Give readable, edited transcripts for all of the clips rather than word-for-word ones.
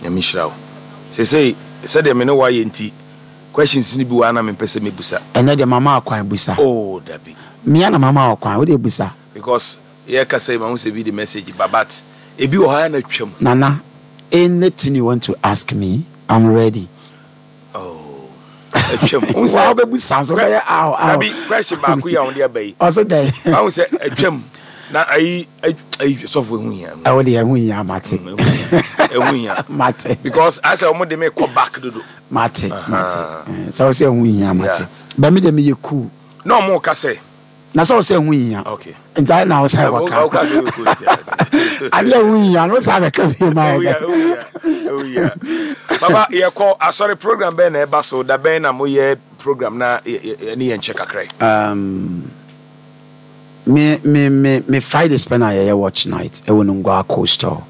Nyame nhyira wo. Seesei sɛdeɛ me ne wo ayɛ nti, questions no bi wɔ ha na mempɛ sɛ mɛbusa. Ɛnɛ deɛ mama wo kwan busa. Oh dabi. Me ara na mama wo kwan, wo deɛ busa. Because yɛrekasa yi mahu sɛ bi de message ba but ebi wɔ hɔ a na atwam. Nana, anything you want to ask me, I'm ready. Oh, atwam. Wohu sɛ. Wa wobɛbusa nso wobɛyɛ aw aw. Dabi, question baako yi a wɔde aba yi. Ɔse dɛn? Wahu sɛ atwam na ayi ayi sɔfo ehu hia. Ɛwo deɛ ɛho hia mate. Ɛho hia. Mate. Because asɛ wɔn de me kɔ back dodo. Mate mate. Sɛ wosɛ ɛho hia mate. Bɛ me deɛ meyɛ cool. Na wɔn ka sɛ. Na sɛ ɔsɛ ɛho hia. Okay. Nti ayɛ na ɔsɛ wɔka. Adeɛ ɛho hia no sɛ abɛka bi ma yɛ dɛ. Papa yɛkɔ asɔre program bɛn na ɛba so da bɛn na moyɛ program na ɛne yɛn nkyɛ kakra yi. Me me me me Fridays pɛ na yɛyɛ watch night ɛwɔ Nungua Coastal.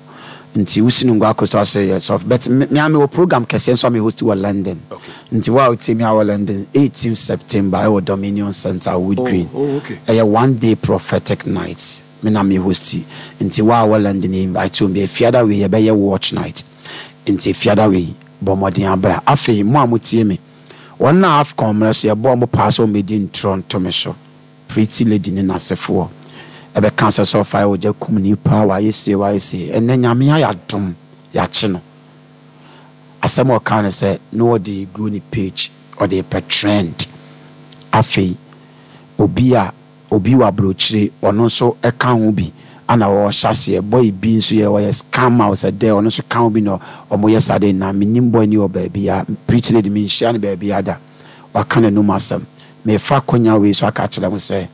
Nti wosi Nungua Coastal sɛ yɛ sɔfo but me me a mewɔ program kɛseɛ nso a me host wɔ London. Okay. Nti wo a wotie me a wɔ London 18 September ɛwɔ Dominion Centre Wood Oh, Green. oh, okay. Ɛyɛ one day prophetic night me na me host nti wo a wɔ London yɛ invite wo bi Efiada wei yɛbɛyɛ watch night nti Efiada wei bɔ mmɔden abra. Afei mo a motie me wɔn a AFCON mmerɛ so yɛbɔɔ mo paa sɛ wɔmmɛdi ntorɔ nto me so. Pretty lady ne n'asefoɔ ɛbɛka sɛ sɛ ɔfae ogya kum nipa wayɛ sei wayɛ sei ɛnɛ Nyame ayɛ adom yakye no asɛm a ɔkaa ne sɛ na ɔde grow ne page ɔde repɛ trend afei obi a obi wɔ abrokyire ɔno nso ɛka ho bi ana ɔhyɛ aseɛ boy bi nso yɛ ɔyɛ scammer ɔsɛ dɛ ɔno nso ka ho bi na ɔmo yɛ saa de na menim boy ni wɔ baabi a Pretty lady menhyia no baabi ada. Waka n'anum asɛm. Merefa akwanya wei so aka akyerɛ mo sɛ,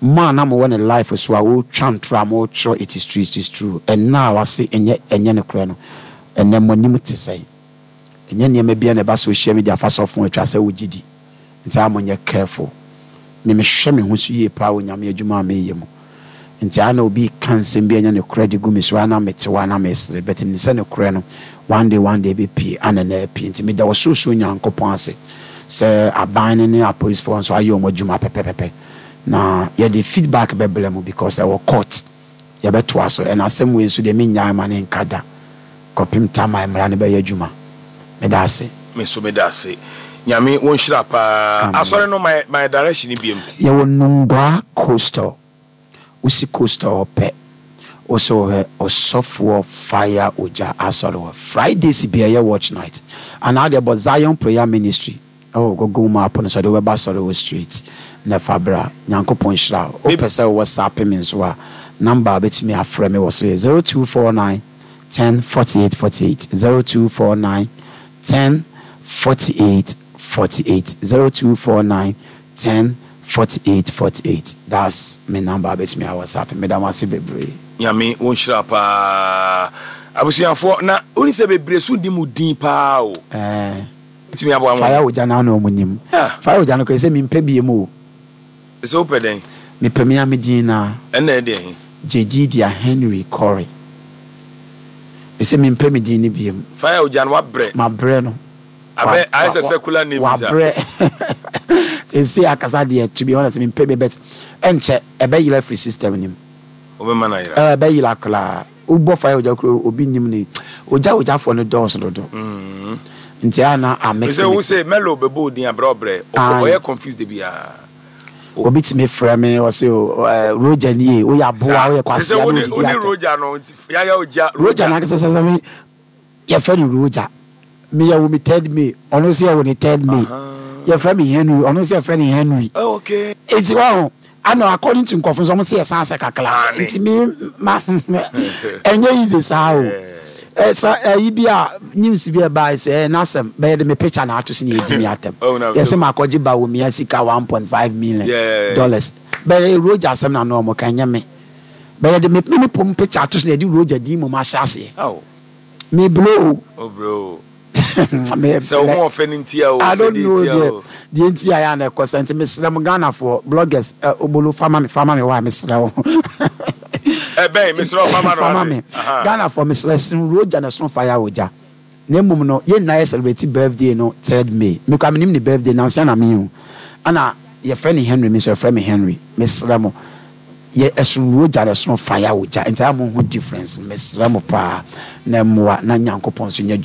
mo a na mowɔ ne life so a ɔretwa ntorɔ a moretwerɛ it is true, it is true, ɛnnɛ a wase ɛnyɛ ɛnyɛ nokorɛ no, ɛnnɛ mo anim te sɛn? Ɛnyɛ nneɛma biara na ɛba social media fa sɔfo atwa sɛ wogye di. Nti a monyɛ careful. Me mehwɛ me ho so yie paa wɔ Nyame adwuma a meyɛ mu. Nti a na obi reka nsɛm bi a ɛnyɛ nokorɛ de gu me so a na mete hɔ a na mesere but menim sɛ nokorɛ no one day one day ɛbɛpue a na na apue. Nti meda Ɔsorosoro Nyankopɔn ase sɛ aban no ne apolisifoɔ nso ayɛ wɔn adwuma pɛpɛpɛpɛ na yɛde feedback bɛbrɛ mo because ɛwɔ court. Yɛbɛtoa so. Ɛna asɛm wei nso deɛ mennyae ma no nka da kɔpem tam a mmara no bɛyɛ adwuma. Meda ase. Me nso meda ase. Nyame wo nhyira paa. Amen. Asɔre no ma yɛ direction biom. Yɛwɔ Nungua coastal. Wosi coastal hɔ pɛ, wo sɛ wohwɛ Ɔsɔfoɔ Fire Ogya Asɔre hɔ. Fridays bia ɛyɛ watch night. Anaa deɛ bɔ Zion Prayer Ministry ɛwɔ Google map no so ɛde wo bɛba asɔre hɔ straight na fa bra. Nyankopɔn nhyira wo. Wopɛ sɛ wo WhatsApp me nso a, number a wobɛtumi afrɛ me wɔ so yɛ 0249 10 48 48, 0249 10 48 48, 0249 10 48 48 that's me number a bɛtumi a whatsapp me meda mo ase bebree. Nyame wo nhyira paa abusuafoɔ na woni sɛ bebree so nnim wo din paa o. Ɛɛ Wobɛtumi aboa mo. Fire ogya no ano ɔmo nim. Ah. Fire ogya no koraa sɛ mempɛ biem o. Sɛ wopɛ dɛn? Mepɛ me ara me din no ara. Ɛnna ɛdeɛn he? Jedidia Henry Corey. Mese mempɛ me din no biem. Fire ogya no wabrɛ. Mabrɛ no. Abɛ ayɛ sɛ secular name bi saa. Wabrɛ. Seesei akasa deɛ to be honest mempɛ bi but ɛnkyɛ ɛbɛyera afiri system no mu. Wobɛma no ayera. Ɛɛ ɛbɛyera koraa. Wobɔ fire ogya koraa obi nnim ne ogya ogyafoɔ no dɔɔso dodo. Nti a na a mix Sɛ wo mix. sɛ Melo bɛbɔ odin abrɛ ɔbrɛ ɔyɛ confused da biara. Obi tumi frɛ me ɔse o Roger nie woyɛ aboa woyɛ kwasea na odidi atɛm. Sɛ wo ne Roger no nti yaya ogya Roger. Roger no ankasa sɛ me Yɛfrɛ no Roger. Me yɛwo me third May, ɔno nso yɛwo ne third May. Yɛfrɛ me Henry, ɔno nso yɛfrɛ no Henry. Oh, okay. Nti wahu, ana according to nkurɔfo nso wɔn se yɛsan sɛ kakra. Nti me ma ɛnyɛ easy saa o. Ɛsa ɛyi bi a news bi a ɛbaa sɛ ɛyɛ n'asɛm bɛyɛ de me picture na ato so na yɛdi me atɛm. Oh, Yɛsɛ makɔgye Bawumia sika $1.5 million. Bɛyɛ Roger asɛm na ano wɔn ka ɛnyɛ me. Bɛyɛ de me me pom picture ato so na yɛde Roger din mmom ahyɛ aseɛ. Oh. Me blow o. O bro o. Me Sɛ wo ho ɔfɛ no ntia o, I sɛ don't deɛ know ntia deɛ o. deɛ nti a yɛ a na ɛkɔ saa nti mesrɛ mo Ghanafoɔ bloggers ɛ obolo fa ma me fa ma me why mesrɛ wo. Ɛbɛn mesrɛ wo fa ma no Fa ma ate. me. Aha. Ghanafoɔ mesrɛ sen Roger na ɛsono fire ogya. Na mmom no yɛn nyinaa yɛ celebrate birthday no third May. Me koraa menim ne birthday nansa na mehu. Ɛna yɛfrɛ no Henry me nso yɛfrɛ me Henry. Mesrɛ mo. Yɛ ɛsono wogya na ɛsono fire wogya nti a mo hu difference no mesrɛ mo paa na mmoa na Nyankopɔn nso nyɛ.